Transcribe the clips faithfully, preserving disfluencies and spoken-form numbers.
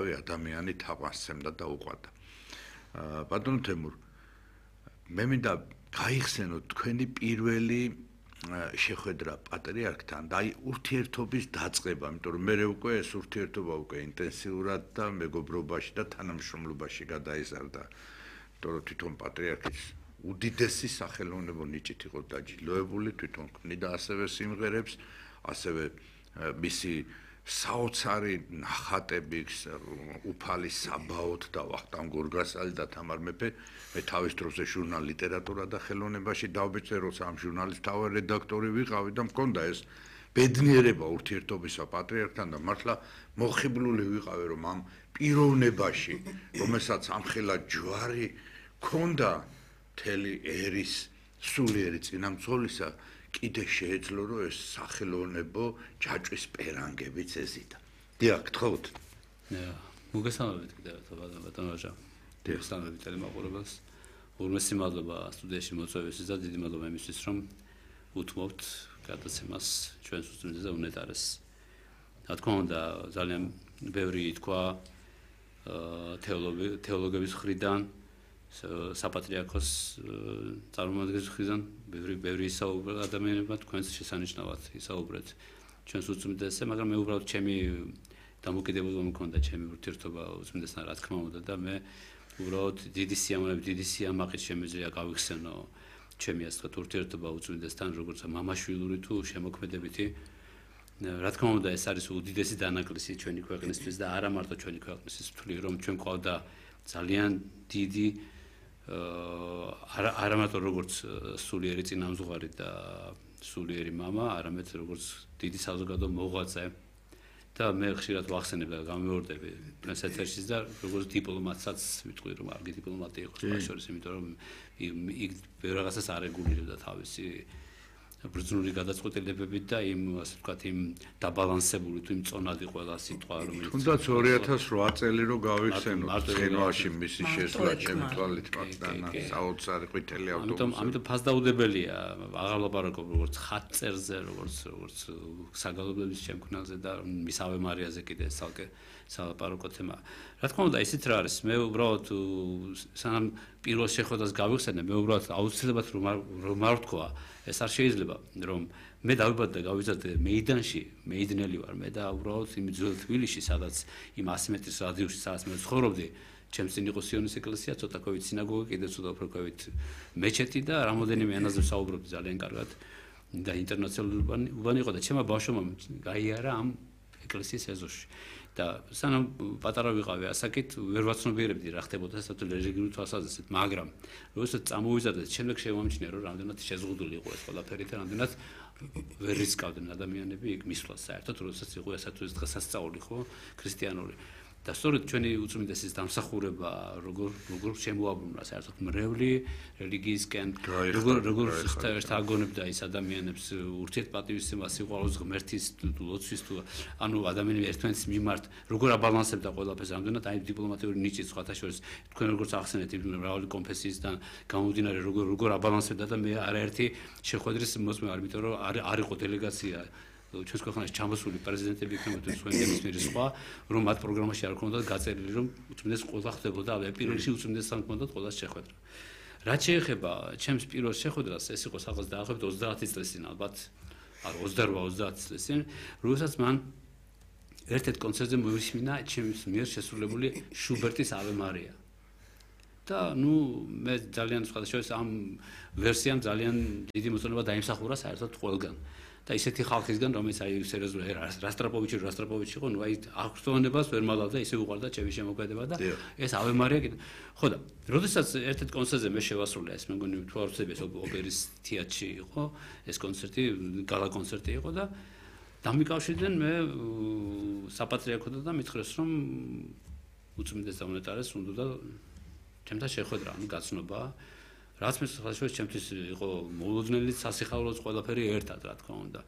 მკვდარი ადამიანი თაყვანსცემდა და უყვარდა. ბატონო თემურ, მე მინდა გაიხსენოთ თქვენი პირველი შეხვედრა პატრიარქთან და აი ურთიერთობის დაწყება, იმიტომ რომ მე უკვე ეს ურთიერთობა უკვე ინტენსიურად და მეგობრობაში და თანამშრომლობაში გადაიზარდა. იმიტომ რომ თვითონ პატრიარქის უდიდესი სახელოვნებო ნიჭით იყო დაჯილდოებული, თვითონ ქმნიდა ასევე სიმღერებს, ასევე მისი საოცარი ნახატები უფალი საბაოთ და ვახტანგ გორგასალი და თამარ მეფე მე თავის დროზე ჟურნალ ლიტერატურა და ხელოვნებაში დავბეჭდე, როცა ამ ჟურნალის თავი რედაქტორი ვიყავი და მქონდა ეს ბედნიერება ურთიერთობისა პატრიარქთან და მართლა მოხიბლული ვიყავი, რომ ამ პიროვნებაში, რომელსაც ამხელა ჯვარი ქონდა მთელი ერის სულიერი წინამძღოლისა, კიდე შეეძლო, რომ ეს სახელოვნებო ჯაჭვის პერანგებიც ეზიდა. დიახ, გთხოვთ. მოგესალმებით კიდევ ბატონო ვაჟა. მოგესალმებით ტელემაყურებელს. ურმესი მადლობა სტუდიაში მოწვევისთვის და დიდი მადლობა იმისთვის, რომ უთმობთ გადაცემას ჩვენს უსწრებს და უნეტარეს. რა თქმა უნდა, ძალიან ბევრი თქვა თეოლოგების მხრიდან, საპატრიარქოს წარმომადგენლების მხრიდან, ბევრი ბევრი ისაუბრა ადამიანებმა თქვენს შესანიშნავად ისაუბრეთ ჩვენს უსწრებსზე, მაგრამ მე უბრალოდ ჩემი დამოკიდებულება მქონდა ჩემი ურთიერთობა უსწრებსთან, რა თქმა უნდა და მე უბრალოდ დიდი სიამოვნებით, დიდი სიამაყით შემეძლია გავიხსენო ჩემი ასე ვთქვათ ურთიერთობა უსწრებსთან, როგორც მამაშვილური თუ შემოქმედებითი. რა თქმა უნდა, ეს არის უდიდესი დანაკლისი ჩვენი ქვეყნისთვის და არა მარტო ჩვენი ქვეყნისთვის, ვთვლი რომ ჩვენ ყავდა ძალიან დიდი არა არა მარტო როგორც სულიერი წინამძღვარი და სულიერი მამა, არამედ როგორც დიდი საზოგადო მოღვაწე და მე ხშირად ვახსენებ და გამეორდები ჩვენს ეთერშიც და როგორც დიპლომატსაც ვიტყვი რომ არგი დიპლომატი იყოს ბაშორის, იმიტომ რომ იქ ბევრ რაღაცას არ რეგულირებდა თავისი ბრძნული გადაწყვეტილებებით და იმ ასე ვთქვათ იმ დაბალანსებული თუ იმ წონადი ყველა სიტყვა რომელიც თუნდაც ორი ათას რვა წელი რო გავიხსენოთ ცხენვაში მისი შესვლა ჩემი თვალით პატანა საოცარი ყვითელი ავტობუსი. ამიტომ ამიტომ ფასდაუდებელია აღარ ლაპარაკობ როგორც ხატწერზე, როგორც როგორც საგალობლების შემქმნელზე და მის ავე მარიაზე კიდე ცალკე სალაპარაკო თემა. რა თქმა უნდა, ისიც რა არის, მე უბრალოდ სანამ პირველ შეხვედრას გავიხსენე, მე უბრალოდ აუცილებლად რომ არ ვთქვა, ეს არ შეიძლება, რომ მე დავიბადე და გავიზარდე მეიდანში, მეიდნელი ვარ მე და უბრალოდ იმ ძველ თბილისში, სადაც იმ ასი მეტრის რადიუსში, სადაც მე ცხოვრობდი, ჩემს წინ იყო სიონის ეკლესია, ცოტა კვებით სინაგოგა, კიდე ცოტა უფრო კვებით მეჩეთი და რამოდენიმე ენაზე ვსაუბრობდი ძალიან კარგად და ინტერნაციონალური უბანი იყო და ჩემმა ბავშვობამ გაიარა ამ ეკლესიის ეზოში. და სანამ პატარა ვიყავი ასაკით ვერ ვაცნობიერებდი რა ხდებოდა საერთოდ რელიგიური თვალსაზრისით, მაგრამ როდესაც წამოვიზარდე, შემდეგ შემომჩნია რომ რამდენად შეზღუდული იყო ეს ყველაფერი და რამდენად ვერ რისკავდნენ ადამიანები იქ მისვლას საერთოდ, როდესაც იყო ესა თუ ეს დღესასწაული ხო ქრისტიანული. და სწორედ ჩვენი უწმინდესის დამსახურება როგორ როგორ შემოაბრუნა საერთოდ მრევლი რელიგიისკენ, როგორ როგორ შეთანხმებდა ის ადამიანებს ურთიერთპატივისცემას, სიყვარულს, ღმერთის ლოცვის თუ ანუ ადამიანები ერთმანეთის მიმართ როგორ აბალანსებდა ყველაფერს, რამდენად აი დიპლომატიური ნიჭით სხვათა შორის თქვენ როგორც ახსენეთ მრავალი კონფესიისგან გამომდინარე როგორ როგორ აბალანსებდა და მე არაერთი შეხვედრის მოსმე არ იმიტომ რომ არ იყო დელეგაცია ჩვენს ქვეყანაში ჩამოსული პრეზიდენტები იქნება თუ სხვა ნებისმიერი სხვა, რომ მათ პროგრამაში არ ქონდათ გაწერილი, რომ უწმინდეს ყველა ხდებოდა, აი პირველში უწმინდესთან ქონდათ ყველა შეხვედრა. რაც შეეხება ჩემს პირველ შეხვედრას, ეს იყო სახელმწიფოს დაახლოებით ოცდაათი წლის წინ, ალბათ არ ოცდარვა ოცდაათი წლის წინ, როდესაც მან ერთ-ერთ კონცერტზე მოვისმინა ჩემს მიერ შესრულებული შუბერტის ave Maria. და ნუ მე ძალიან სხვა შორის ამ ვერსიამ ძალიან დიდი მოწონება დაიმსახურა საერთოდ ყველგან. და ისეთი ხალხისგან, რომელიც აი სერიოზულად რასტრაპოვიჩი რასტრაპოვიჩი იყო, ნუ აი აქტუალობას ვერ მალავდა, ისე უყარდა ჩემი შემოქმედება და ეს ave Maria კიდე. ხო და როდესაც ერთ-ერთ კონცერტზე მე შევასრულე, ეს მე მგონი თუ არ ვცდები, ეს ოპერის თეატრში იყო, ეს კონცერტი, გალა კონცერტი იყო და დამიკავშირდნენ მე საპატრიარქოდან და მითხრეს, რომ უწმინდეს და უნეტარეს უნდა ჩემთან შეხვედრა, ანუ გაცნობა. რაც მე ხალხს ჩემთვის იყო მოულოდნელი სასიხარულოც ყველაფერი ერთად, რა თქმა უნდა.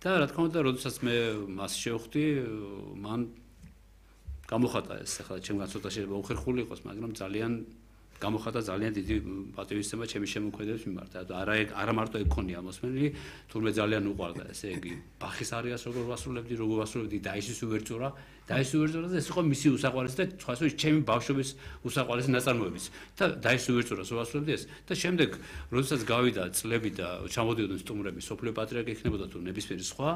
და რა თქმა უნდა, როდესაც მე მას შევხვდი, მან გამოხატა ეს ახლა ჩემგან ცოტა შეიძლება უხერხული იყოს, მაგრამ ძალიან გამოხატა ძალიან დიდი პატივისცემა ჩემი შემოქმედების მიმართ. არა არა მარტო ეგ ქონია მოსმენილი, თურმე ძალიან უყვარდა, ესე იგი, ბახის არიას როგორ ვასრულებდი, როგორ ვასრულებდი დაისის უვერტურა, დაისის უვერტურა და ეს იყო მისი უსაყვარლესი და სხვა შორის ჩემი ბავშვობის უსაყვარლესი ნაწარმოებიც. და დაისის უვერტურას ვასრულებდი ეს და შემდეგ, როდესაც გავიდა წლები და ჩამოდიოდნენ სტუმრები, სოფლიო პატრიარქი იქნებოდა თუ ნებისმიერი სხვა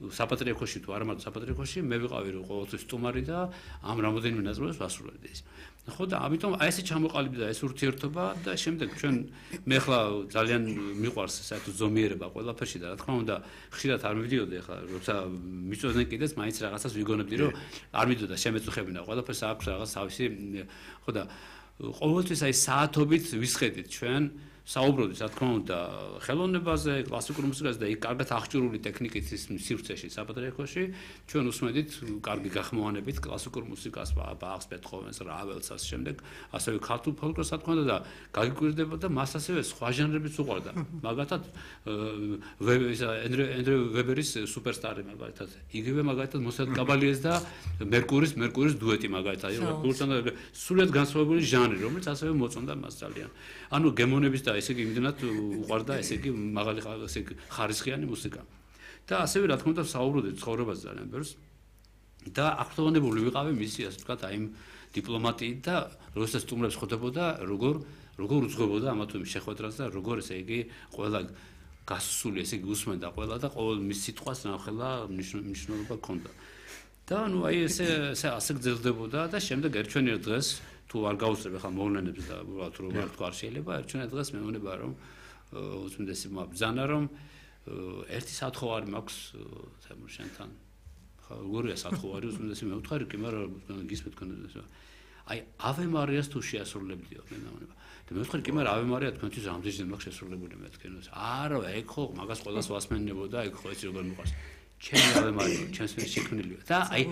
საპატრიარქოში თუ არა მარტო საპატრიარქოში მე ვიყავი რომ ყოველთვის სტუმარი და ამ რამოდენიმე ნაწარმოებს ვასრულებდი ეს. ხო და ამიტომ აი ესე ჩამოყალიბდა ეს ურთიერთობა და შემდეგ ჩვენ მე ხლა ძალიან მიყვარს საერთოდ ზომიერება ყველაფერში და რა თქმა უნდა ხშირად არ მივიდიოდი ხლა როცა მიწოდნენ კიდეც მაინც რაღაცას ვიგონებდი რომ არ მიდოდა შემეწუხებინა ყველაფერს აქვს რაღაც თავისი ხო და ყოველთვის აი საათობით ვისხედით ჩვენ საუბრობთ რა თქმა უნდა ხელოვნებაზე, კლასიკურ მუსიკაზე და იქ კარგად აღჭურვილი ტექნიკით ის სივრცეში საპატრიარქოში ჩვენ უსმენთ კარგი გახმოვანებით კლასიკურ მუსიკას, ბახს, ბეთჰოვენს, რაველს ამ შემდეგ, ასევე ქართულ ფოლკლორს რა თქმა უნდა და გაგიკვირდება და მას ასევე სხვა ჟანრებიც უყვარდა. მაგალითად ენდრე ვებერის სუპერსტარი მაგალითად, იგივე მაგალითად მოსად კაბალიეს და მერკურის მერკურის დუეტი მაგალითად, სრულიად განსხვავებული ჟანრი, რომელიც ასევე მოწონდა მას ძალიან. ანუ გემონების და ესე იგი იმდენად უყვარდა ესე იგი მაღალი ესე იგი ხარისხიანი მუსიკა. და ასევე რა თქმა უნდა საუბრობდით ცხოვრებაზე ძალიან ბევრს და აქტუალურებული ვიყავი მისი ასე ვთქვათ აი იმ დიპლომატიით და როდესაც სტუმრებს ხვდებოდა როგორ როგორ უძღვებოდა ამა თუ იმ შეხვედრას და როგორ ესე იგი ყველა გასული ესე იგი უსმენდა ყველა და ყოველ მის სიტყვას ნახელა მნიშვნელობა ჰქონდა. და ნუ აი ესე ესე ასე გრძელდებოდა და შემდეგ ერჩვენიერ დღეს თუ არ გაუსწრებ ახლა მოვლენებს და უბრალოდ რომ არ თქვა არ შეიძლება ერჩვენე დღეს მე მგონება რომ უცნაური მაბრძანა რომ ერთი საათხოვარი მაქვს თემურ შენთან ხა როგორია საათხოვარი უცნაური მე ვთხარი კი მაგრამ გისმენთ კონდეს აი ავე მარიას თუ შეასრულებდიო მე მგონება და მე ვთხარი კი მაგრამ ავე მარია თქვენთვის ამდენჯერ მაქვს შესრულებული მე თქვენს არა ეგ ხო მაგას ყველას ვასმენებოდა ეგ ხო ეს როგორ მიყვარს ჩემი ავე მარია ჩემს მე შექმნილია და აი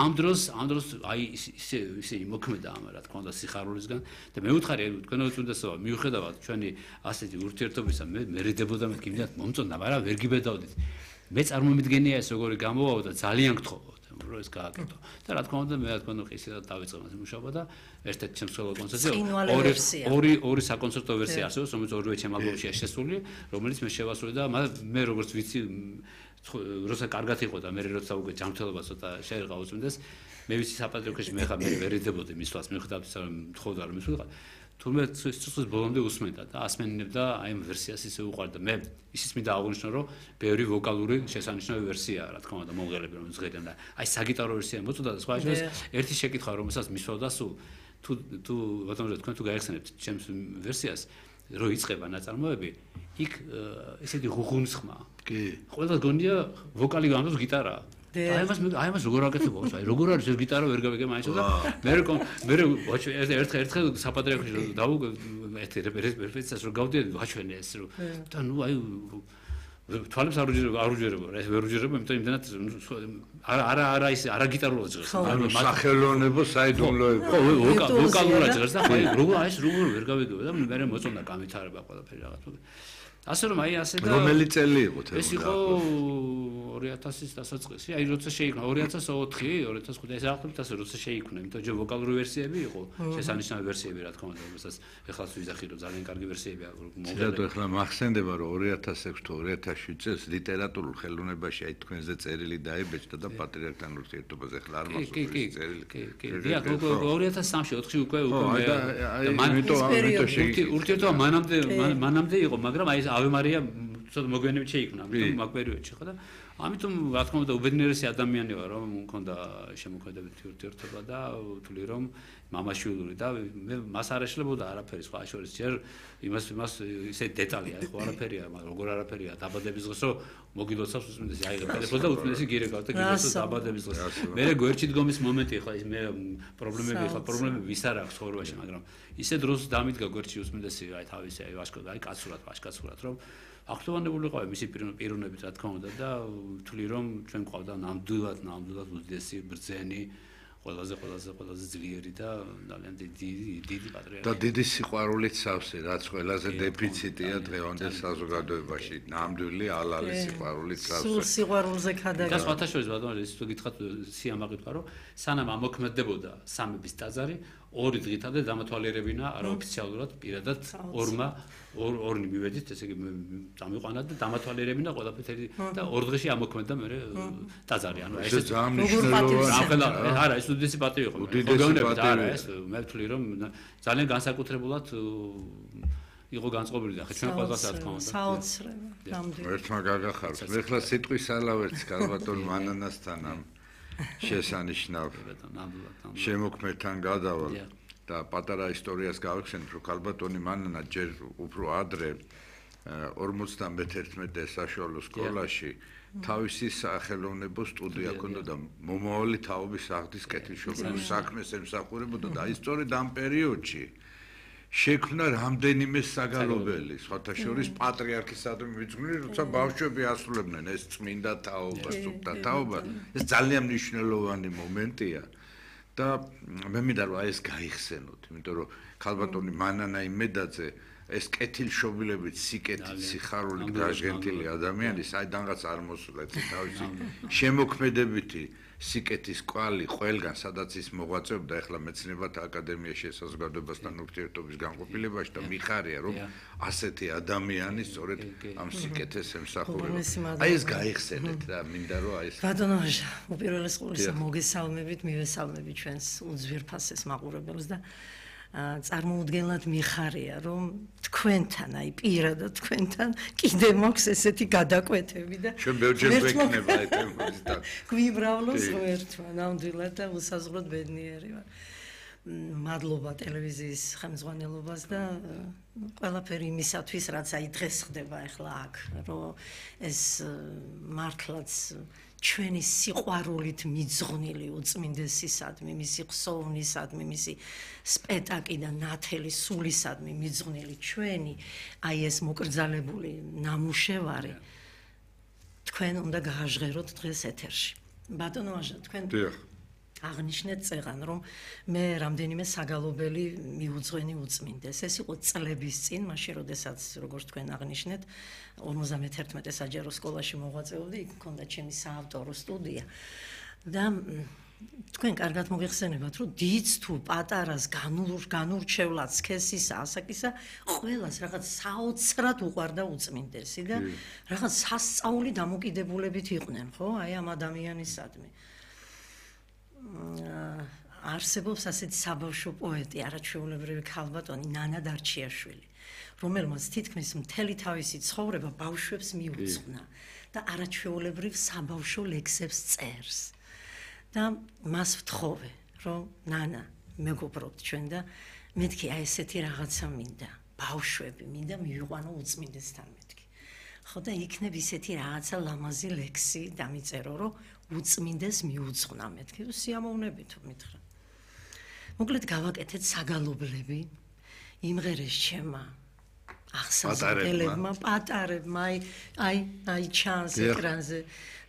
ამ დროს ამ დროს აი ისე ისე იმოქმედა ამ რა თქმა უნდა სიხარულისგან და მე ვუთხარი თქვენ უწუნდესობა მიუხედავად ჩვენი ასეთი ურთიერთობისა მე მერიდებოდა მე გიმდათ მომწონდა მაგრამ ვერ გიბედავდით მე წარმომიდგენია ეს როგორი გამოვაო და ძალიან გთხოვოთ რომ ეს გააკეთო და რა თქმა უნდა მე რა თქმა უნდა ისედაც დავიწყე მას მუშაობა და ერთ-ერთ ჩემს სოლო კონცერტზე ორი ორი ორი საკონცერტო ვერსია არსებობს რომელიც ორივე ჩემ ალბომშია შესული რომელიც მე შევასრულე და მე როგორც ვიცი როცა კარგად იყო და მე როცა უკვე ჯანმრთელობა ცოტა შეერღა უწმინდეს მე ვიცი საპატრიარქოში მე ხა მე ვერიდებოდი მისვლას მიუხედავად ისა რომ თხოვდა რომ მისვლიყა თუმცა სიცოცხლის ბოლომდე უსმენდა და ასმენინებდა აი ამ ვერსიას ისე უყვარდა მე ისიც მინდა აღვნიშნო რომ ბევრი ვოკალური შესანიშნავი ვერსია რა თქმა უნდა მომღერლები რომ ზღერიან და აი საგიტარო ვერსია მოწოდა და სხვა შორის ერთი შეკითხვა რომელსაც მისვლავდა სულ თუ თუ ბატონო თქვენ თუ გაიხსენებთ ჩემს ვერსიას რო იწყება ნაწარმოები იქ ესეთი ღუღუნსხმა კი ყველა გონია ვოკალი გამოს გიტარაა აი მას აი მას როგორ აკეთებო აი როგორ არის ეს გიტარა ვერ გავიგე მაინც და მე მე ერთ ერთხელ საპატრიარქოში დავუ ერთ რეპეტიციას რო გავდიოდი ვაჩვენე ეს რო და ნუ აი თვალებს არ უჯერებო არ უჯერებო ეს ვერ უჯერებო იმიტომ იმდანაც არა არა არა ის არა გიტარულად ჟღერს ანუ სახელოვნებო საიდუმლოება ხო ვოკალურად ჟღერს და აი როგორ აი ეს როგორ ვერ გავიგებო და მე მოწონდა გამithარება ყველაფერი რაღაცა ასე რომ აი ასე და რომელი წელი იყო თემო ეს იყო ორი ათასის დასაწყისი აი როცა შეიქმნა ორი ათას ოთხი ორი ათას ხუთი ეს აღწერთ ასე როცა შეიქმნა იმიტომ რომ ვოკალური ვერსიები იყო შესანიშნავი ვერსიები რა თქმა უნდა რომელსაც ეხლაც ვიზახი რომ ძალიან კარგი ვერსიები აქვს მოგედა და ეხლა მახსენდება რომ ორი ათას ექვსი თუ ორი ათას შვიდ წელს ლიტერატურულ ხელოვნებაში აი თქვენზე წერილი დაიბეჭდა და პატრიარქთან ურთიერთობაზე ეხლა არ მახსოვს წერილი კი კი კი ორი ათას სამში ოთხში უკვე უკვე მე ამიტომ ამიტომ შეიქმნა ურთიერთობა მანამდე მანამდე იყო მაგრამ აი ავე მარია ცოტა მოგვიანებით შეიქმნა ამიტომ მაგ პერიოდში ხო და ამიტომ რა თქმა უნდა უბედნიერესი ადამიანი ვარ რომ მქონდა შემოქმედებითი ურთიერთობა და ვთვლი რომ მამაშვილი და მე მას არ ეშლებოდა არაფერი სხვა შორის ჯერ იმას იმას ისე დეტალია ხო არაფერია მაგრამ როგორ არაფერია დაბადების დღეს რომ მოგილოცავს უცნაური აიღებ ტელეფონს და უცნაური გირეკავ და გილოცავს დაბადების დღეს მე გვერდში დგომის მომენტი ხო ის მე პრობლემები ხო პრობლემები ვის არ აქვს ცხოვრებაში მაგრამ ისე დროს დამიდგა გვერდში უცნაური აი თავისი აი ვაშკო აი კაცურად ვაშკაცურად რომ აქტუალურებული ყავი მისი პიროვნებით რა თქმა უნდა და ვთვლი რომ ჩვენ ყავდა ნამდვილად ნამდვილად უდიდესი ბრძენი ყველაზე ყველაზე ყველაზე ძლიერი და ძალიან დიდი დიდი პატრიარქი და დიდი სიყვარულით სავსე რაც ყველაზე დეფიციტია დღევანდელ საზოგადოებაში ნამდვილი ალალი სიყვარულით სავსე სულ სიყვარულზე ქადაგება და სხვათა შორის ბატონო ის თუ გითხრათ სიამაყი თქვა რომ სანამ ამოქმედებოდა სამების ტაძარი ორი დღითამდე დამათვალიერებინა არაოფიციალურად პირადად ორმა ორნი მივედით, ესე იგი წამიყვანა და დამათვალიერებინა ყველაფერი და ორ დღეში ამოქმედა მე ტაძარი, ანუ ეს ძალიან მნიშვნელოვანია. არა, ეს უდიდესი პატივი იყო. მოგეუბნებით, არა, ეს მე ვთვლი რომ ძალიან განსაკუთრებულად იყო განწყობილი და ხე ჩვენ ყველას რა თქმა უნდა. საოცრება, ნამდვილად. ერთმა გაგახარს. მე ხლა სიტყვის ალავერts კალბატონ მანანასთან ამ შესანიშნავ შემოქმედთან გადავალ და პატარა ისტორიას გავიხსენებ, რომ კალბატონი მანანა ჯერ უფრო ადრე ორმოცდამეთერთმეტე საშუალო სკოლაში თავისი სახელოვნებო სტუდია ჰქონდა და მომავალი თაობის აღდის კეთილშობილების საქმეს ემსახურებოდა და ისტორიად ამ პერიოდში შექმნა რამდენიმე საგალობელი, სხვათა შორის პატრიარქისადმი მიძღვნილი, როცა ბავშვები ასრულებდნენ ეს წმინდა თაობას, სუფთა თაობას, ეს ძალიან მნიშვნელოვანი მომენტია და მე მინდა რომ ეს გაიხსენოთ, იმიტომ რომ ქალბატონი მანანა იმედაძე ეს კეთილშობილებით, სიკეთით, სიხარულით გაჟღენთილი ადამიანი, საიდანღაც არ მოსულეთ თავისი შემოქმედებითი სიკეთის კვალი ყველგან სადაც ის მოღვაწეობდა ახლა მეცნიერებათა აკადემიაში საზოგადოებასთან ურთიერთობის განყოფილებაში და მიხარია რომ ასეთი ადამიანი სწორედ ამ სიკეთეს ემსახურება. აი ეს გაიხსენეთ რა, მინდა რომ აი ეს ბატონო ვაჟა, უპირველეს ყოვლისა მოგესალმებით, მივესალმებით ჩვენს უძვირფასეს მაყურებელს და წარმოუდგენლად მიხარია რომ თქვენთან, აი პირადად თქვენთან კიდე მაქვს ესეთი გადაკვეთები და ჩვენ ბევრჯერ ვეკნება აი თემების და გვიმრავლოს ღერთვა, ნამდვილად და უსაზღვროდ ბედნიერი ვარ. მადლობა ტელევიზიის ხელმძღვანელობას და ყველაფერი იმისათვის, რაც აი დღეს ხდება ახლა აქ, რომ ეს მართლაც ჩვენი სიყვარულით მიძღვნილი უწმინდესისადმი, მისი ხსოვნისადმი, მისი სპეტაკი და ნათელი სულისადმი მიძღვნილი ჩვენი, აი ეს მოკრძალებული ნამუშევარი თქვენ უნდა გააჟღეროთ დღეს ეთერში. ბატონო ვაჟა, თქვენ აღნიშნეთ წეღან, რომ მე რამდენიმე საგალობელი მიუძღვენი უწმინდეს. ეს იყო წლების წინ, მაშინ როდესაც როგორც თქვენ აღნიშნეთ, ორმოცდამეთერთმეტე საჯარო სკოლაში მოღვაწეობდი, იქ მქონდა ჩემი საავტორო სტუდია. და თქვენ კარგად მოგეხსენებათ, რომ დიდს თუ პატარას განურ განურჩევლად სქესისა, ასაკისა, ყველას რაღაც საოცრად უყვარდა უწმინდესი და რაღაც სასწაული დამოკიდებულებით იყვნენ, ხო? აი ამ ადამიანისადმი. არსებობს ასეთი საბავშვო პოეტი, არაჩვეულებრივი ქალბატონი ნანა დარჩიაშვილი, რომელმაც თითქმის მთელი თავისი ცხოვრება ბავშვებს მიუძღვნა და არაჩვეულებრივ საბავშვო ლექსებს წერს. და მას ვთხოვე, რომ ნანა, მეგობრობთ ჩვენ და მეთქი აი ესეთი რაღაცა მინდა, ბავშვები მინდა მივიყვანო უწმინდესთან მეთქი. ხო და იქნებ ისეთი რაღაცა ლამაზი ლექსი დამიწერო, რომ უწმინდეს მიუძღვნა მეთქი, სიამოვნებით მითხრა. მოკლედ გავაკეთეთ საგალობლები, იმღერეს ჩემმა ახსაზრდელებმა, პატარებმა, აი აი აი ჩანს ეკრანზე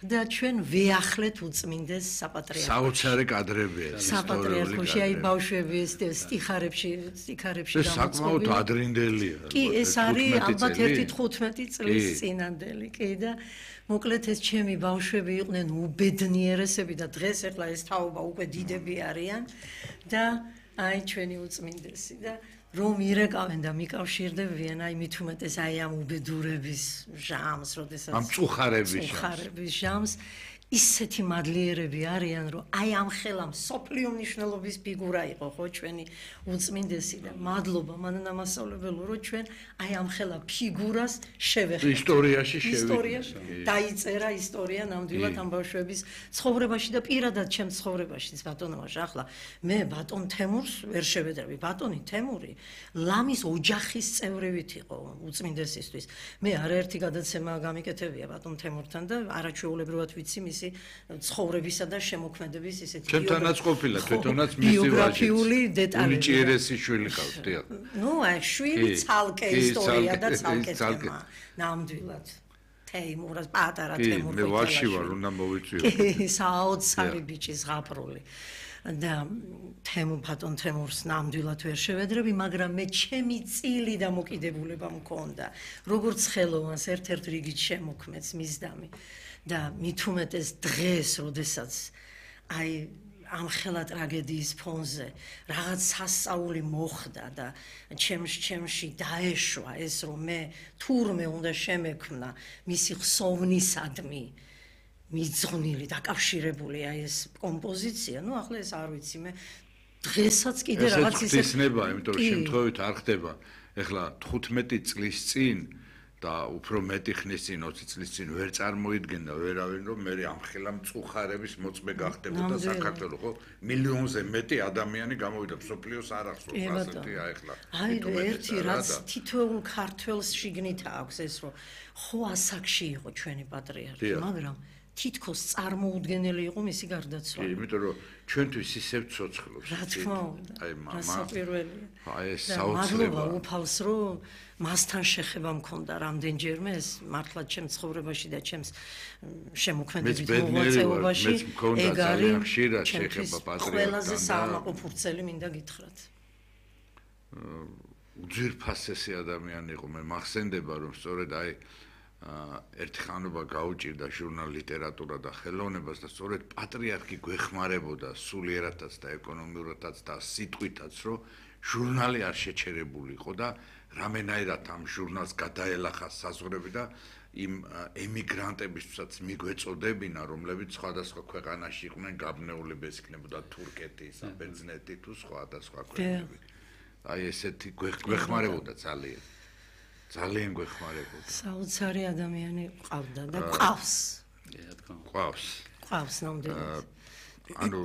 და ჩვენ ვეახლეთ უწმინდეს საპატრიარქოში. საოცარი კადრებია. საპატრიარქოში აი ბავშვები ეს სტიხარებში, სტიხარებში გამოწყობილი. ეს საკმაოდ ადრინდელია. კი, ეს არის ალბათ ერთი თხუთმეტი წლის წინანდელი, კი და მოკლედ ეს ჩემი ბავშვები იყვნენ უბედნიერესები და დღეს ახლა ეს თაობა უკვე დიდები არიან და აი ჩვენი უწმინდესი და რომ ირეკავენ და მიკავშირდებიან აი მით უმეტეს აი ამ უბედურების ჟამს, როდესაც ამ წუხარების ჟამს. წუხარების ჟამს ისეთი მადლიერები არიან, რომ აი ამ ხელა მსოფლიო მნიშვნელობის ფიგურა იყო, ხო, ჩვენი უწმინდესი და მადლობა მანანა მასწავლებელო, რომ ჩვენ აი ამ ხელა ფიგურას შევეხეთ. ისტორიაში შევეხეთ. ისტორიაში დაიწერა ისტორია ნამდვილად ამ ბავშვების ცხოვრებაში და პირადად ჩემ ცხოვრებაშიც, ბატონო ვაჟა, ახლა მე ბატონ თემურს ვერ შევედრები. ბატონი თემური ლამის ოჯახის წევრივით იყო უწმინდესისთვის. მე არაერთი გადაცემა გამიკეთებია ბატონ თემურთან და არაჩვეულებრივად ვიცი მის ცხოვრებისა და შემოქმედების ისეთი ჩემთანაც ყოფილა თვითონაც მისი ბიოგრაფიული დეტალები. უნიჭიერესი შვილი ყავს, დიახ. ნუ აი შვილი ცალკე ისტორია და ცალკე თემა. ნამდვილად. თეიმურას პატარა თემურ. მე ვაში ვარ, უნდა მოვიწვიო. კი, საოცარი ბიჭი ზღაპრული. და თემუ ბატონ თემურს ნამდვილად ვერ შევედრები, მაგრამ მე ჩემი წილი დამოკიდებულება მქონდა. როგორც ხელოვანს ერთ-ერთ რიგით შემოქმედს მისდამი. და მით უმეტეს დღეს, როდესაც აი ამხელა ტრაგედიის ფონზე რაღაც სასწაული მოხდა და ჩემს ჩემში დაეშვა ეს რომ მე თურმე უნდა შემექმნა მისი ხსოვნისადმი მიძღვნილი დაკავშირებული აი ეს კომპოზიცია, ну ახლა ეს არ ვიცი მე დღესაც კიდე რაღაც ისე ხსნება, იმიტომ რომ შემთხვევით არ ხდება. ეხლა თხუთმეტი წლის წინ და უფრო მეტი ხნის წინ, ოცი წლის წინ ვერ წარმოიდგენდა ვერავინ რომ მე ამხელა მწუხარების მოწმე გახდებოდა საქართველოს, ხო? მილიონზე მეტი ადამიანი გამოვიდა მსოფლიოს არ ახსოვს ასეთი აი ეხლა. აი ერთი რაც თითოეულ ქართველს შიგნით აქვს ეს რომ ხო ასაკში იყო ჩვენი პატრიარქი, მაგრამ თითქოს წარმოუდგენელი იყო მისი გარდაცვალება. კი, იმიტომ რომ ჩვენთვის ისევ ცოცხლობს. რა თქმა უნდა. აი მამა. სასაპირველია. აი ეს საოცრება. უფალს რომ მასთან შეხება მქონდა რამდენჯერმე ეს მართლა ჩემს ცხოვრებაში და ჩემს შემოქმედებით მოღვაწეობაში ეგ არის ხშირად შეხება პატრიარქთან. ყველაზე საამაყო ფურცელი მინდა გითხრათ. უძვირფასესი ადამიანი იყო, მე მახსენდება რომ სწორედ აი ერთი ხანობა გაუჭირდა ჟურნალ ლიტერატურა და ხელოვნებას და სწორედ პატრიარქი გვეხმარებოდა სულიერადაც და ეკონომიურადაც და სიტყვითაც რომ ჟურნალი არ შეჩერებული იყო და რამენაირად ამ ჟურნალს გადაელახა საზღვრები და იმ ემიგრანტებისაც მიგვეწოდებინა რომლებიც სხვადასხვა ქვეყანაში იყვნენ გაბნეულები, ეს იქნებოდა თურქეთი, საბერძნეთი თუ სხვადასხვა ქვეყნები. აი ესეთი გვეხმარებოდა ძალიან. ძალიან გვეხმარებოდა. საოცარი ადამიანი ყავდა და ყავს. ყავს. ყავს ნამდვილად. ანუ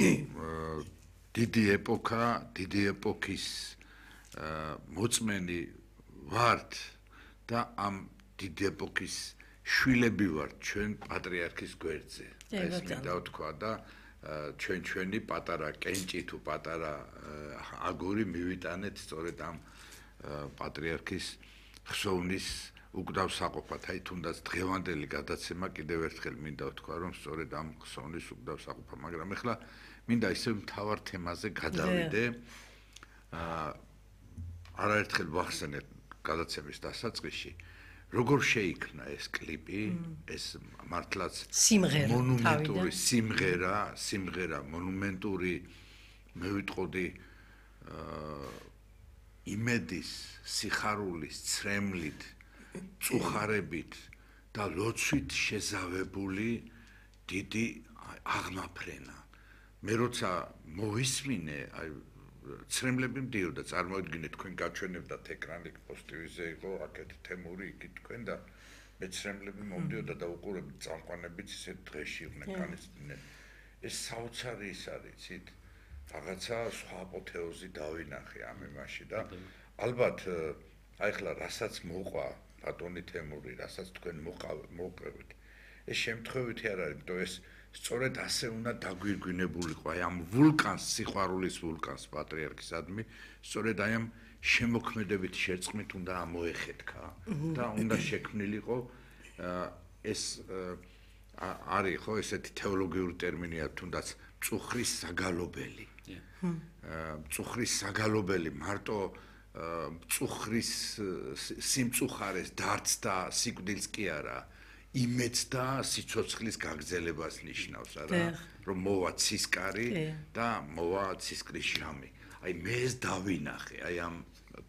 დიდი ეპოქა, დიდი ეპოქის მოწმენი ვართ და ამ დიდი ეპოქის შვილები ვართ ჩვენ პატრიარქის გვერდზე. ეს მინდა ვთქვა და ჩვენ ჩვენი პატარა კენჭი თუ პატარა აგური მივიტანეთ სწორედ ამ პატრიარქის ხსოვნის უკდავსაყოფად, აი თუნდაც დღევანდელი გადაცემა კიდევ ერთხელ მინდა ვთქვა, რომ სწორედ ამ ხსოვნის უკდავსაყოფა, მაგრამ ეხლა მინდა ისევ მთავარ თემაზე გადავიდე. აა არაერთხელ ვახსენეთ გადაცემის დასაწყისში, როგორ შეიქმნა ეს კლიპი, ეს მართლაც მონუმენტური სიმღერა, სიმღერა მონუმენტური მე ვიტყოდი აა იმედის, სიხარულის, ცრემლით, წუხარებით და ლოცვით შეზავებული დიდი აღმაფრენა. მე როცა მოვისმინე, აი ცრემლები მდიოდა, წარმოიდგინეთ თქვენ გაჩვენებდათ ეკრანი პოზიტივზე იყო, აქეთ თემური, იქით თქვენ და მე ცრემლები მომდიოდა და უყურებთ წამყვანებიც ისე დღეში იყვნენ განიცდნენ. ეს საოცარი ის არის, იცით? რაღაცა სხვა აპოთეოზი დავინახე ამ იმაში და ალბათ აი ხლა რასაც მოყვა ბატონი თემური, რასაც თქვენ მოყევით. ეს შემთხვევითი არ არის, იმიტომ ეს სწორედ ასე უნდა დაგვირგვინებულიყო აი ამ ვულკანს, სიყვარულის ვულკანს პატრიარქისადმი, სწორედ აი ამ შემოქმედებით შერწყმით უნდა ამოეხეთქა და უნდა შექმნილიყო ეს არის ხო ესეთი თეოლოგიური ტერმინია თუნდაც მწუხრის საგალობელი. მწუხრის საგალობელი მარტო მწუხრის სიმწუხარეს დარდს და სიკვდილს კი არა, იმედს და სიცოცხლის გაგრძელებას ნიშნავს, არა? რომ მოვა ცისკარი და მოვა ცისკრის ჟამი. აი მე ეს დავინახე, აი ამ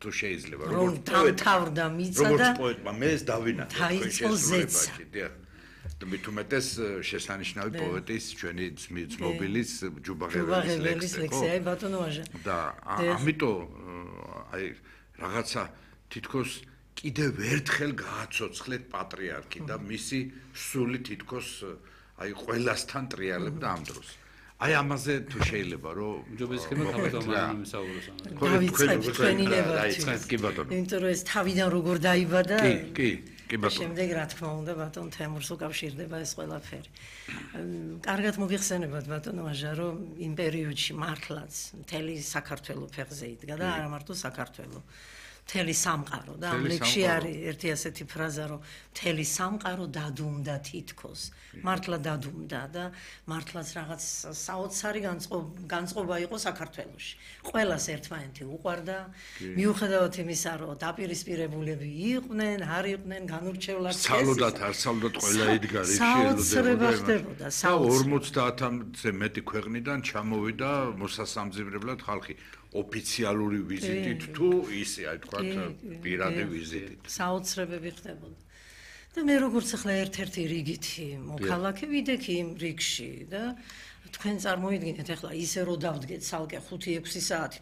თუ შეიძლება რომ თავდა მიცა და როგორც პოეტმა მე ეს დავინახე დაიწყო ზეცა. და მით უმეტეს შესანიშნავი პოეტის ჩვენი ძმობილის ჯუბაღეველის ლექსია, აი ბატონო ვაჟა. და ამიტომ აი რაღაცა თითქოს კიდევ ერთხელ გააცოცხლეთ პატრიარქი და მისი სული თითქოს აი ყველასთან ტრიალებდა ამ დროს. აი ამაზე თუ შეიძლება რომ ჯობეს ხება თავდამაინი მსაუბროს ამაზე. დავიწყებ თქვენი ნებართვით. დაიწყეთ კი ბატონო. იმიტომ რომ ეს თავიდან როგორ დაიბადა. კი, კი, კი ბატონო. შემდეგ რა თქმა უნდა ბატონ თემურს უკავშირდება ეს ყველაფერი. კარგად მოგიხსენებათ ბატონო ვაჟა რომ იმ პერიოდში მართლაც მთელი საქართველოს ფეხზე იდგა და არა მარტო საქართველოს. მთელი სამყარო და ამ ლექსში არის ერთი ასეთი ფრაზა, რომ მთელი სამყარო დადუმდა თითქოს. მართლა დადუმდა და მართლაც რაღაც საოცარი განწყობა იყო საქართველოში. ყველას ერთმანეთი უყვარდა, მიუხედავად იმისა, რომ დაპირისპირებულები იყვნენ, არ იყვნენ, განურჩევლად სალოდათ არ სალოდათ ყველა იდგა რიგში საოცრება ხდებოდა. ორმოცდაათამდე მეტი ქვეყნიდან ჩამოვიდა მოსასამძიმებლად ხალხი. ოფიციალური ვიზიტით თუ ისე აი თქვა პირადი ვიზიტით. საოცრებები ხდებოდა. და მე როგორც ახლა ერთ-ერთი რიგითი მოქალაქე ვიდექი იმ რიგში და თქვენ წარმოიდგინეთ ახლა ისე რომ დავდგეთ ცალკე ხუთი ექვსი საათი